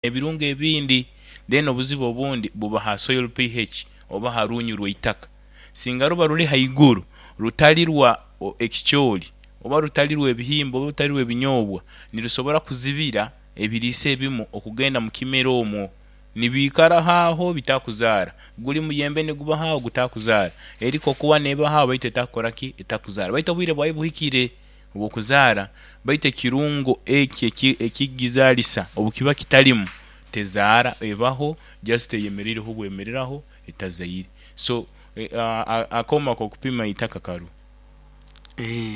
Ebirungo ebindi. Then obuzibu obundi buba ha soil PH oba ha runyu rw'eitaka. Singa ruba ruli haiguru rutali rwa ekicoori oba rutali rw'ebihimba oba rutali rw'ebinyoobwa, nirusobora kuzibira ebiriisa ebimu okugenda mu kimera omwo. Nibiikaraho agho bitakuzaara. Guli muyembe nigubaho agho gutakuzaara. Eri kokowa neebaho agho baitu etakukora ki? Etakuzaara. Baitu obwire bwayo buhikire obw'okuzaara, baitu ekirungo ekyo ekigizaalisa obu kiba kitalimu, tezaara, ebaho just eyemereireho bwemereraho etazaire. So akooma ak'okupima eitaka karuho,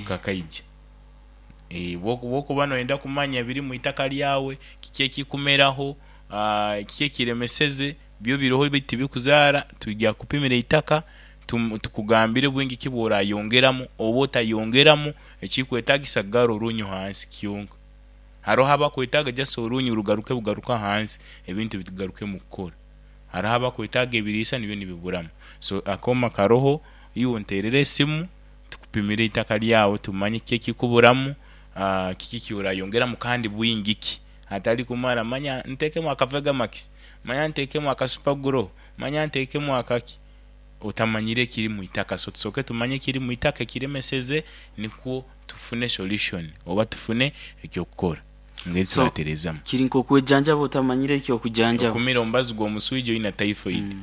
kakaija. Bwokuba noyenda kumanya ebiri mu itaka lyawe, kiki ekikumeraho, kiki ekiremeseze, byo biroho baitu tibikuzaara, twija kukupimira eitaka tukugambire bwingi ki bw'orayongeramu oba otayongeramu, ekikwetagisa kugarra orunyu hansi kyonka. Haroho abakwetaaga just orunyu rugaruke bugaruke ahansi ebintu bigarukemu kukora. Haroho abakwetaaga ebiriisa nibyo nibiburamu. So akooma karoho, iwe onteerere esimu tukupimire eitaka lyawe tumanye kiki ekikuburamu, kiki ekyorayongeramu kandi bwingi ki. Hatali kumara manya ntekemu aka Vegamax, manya ntekemu aka Super Grow, manya ntekemu akaki, otamanyire ekiri mu itaka. So tusooke tumanye ekiri mu itaka ekiremeseze nikwo tufune solution oba tufune eky'okukora engeri So turatereezamu. kiri nk'okwejanjaba otamanyire eky'okujanjaba. Okumira omubazi gw'omuswija oine typhoid.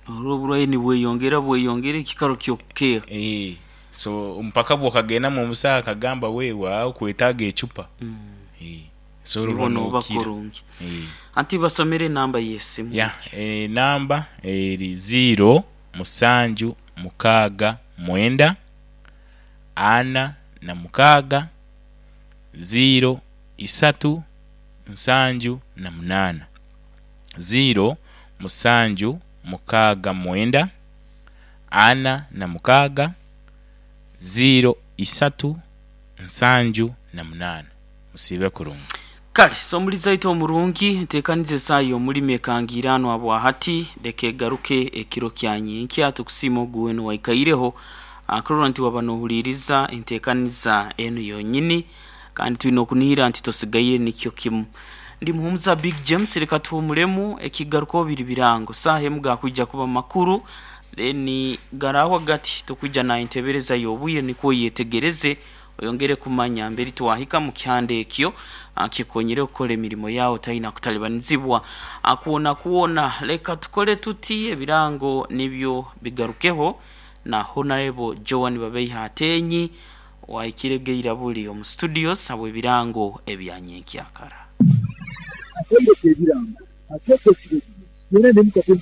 Norora oburwaire nibweyongera bweyongera ekikaro ky'okukeeha. Eeh so mpaka bw'okagendamu omusaho akagamba wewe agho okwetaaga ecupa. Eeh so Nibo orora nooba nookira. kurungi. Eeh. Anti basomere enamba y'esimu Ya egyo. enamba eri ziiro musanju mukaaga mwenda ana na mukaaga ziiro isatu nsanju na munaana. Ziiro musanju mukaaga mwenda ana na mukaaga ziiro isatu nsanju na munaana. Musiibe kurungi. Kale, so omulizi aite omurungi, nteekaniza esaaha y'omulimi ekangiiranwa bwa hati, leka egaruke ekiro kya nyenkya. Tukusiima ogu weena owaikaireho kurora nti waba n'ohuliiriza enteekaniza enu yonyini, kandi twine okunihira nti tosigaire nikyo kimu. Ndi Muhumuza Big James, leka tuhuumuremu, ekigarukaho biri birango. Saaha emu gaakwija kuba makuru, then garaahwa gati tukwija na entebereza y'obwire nikwo oyetegereze Oyongere kumanya mberi twahika mu kihanda ekyo kikukonyire kukora emirimo yaawe otaina kutalibanizibwa kwonakwona. Leka tukole tuti ebirango nibyo bigarukeho na Honarebo Joan Babeiha Ateenyi owahikire Geiraburi omu studios habw'ebirango ebya nyenkyakara. Akaire k'ebirango ak'eKS Radio, twena n'emikago.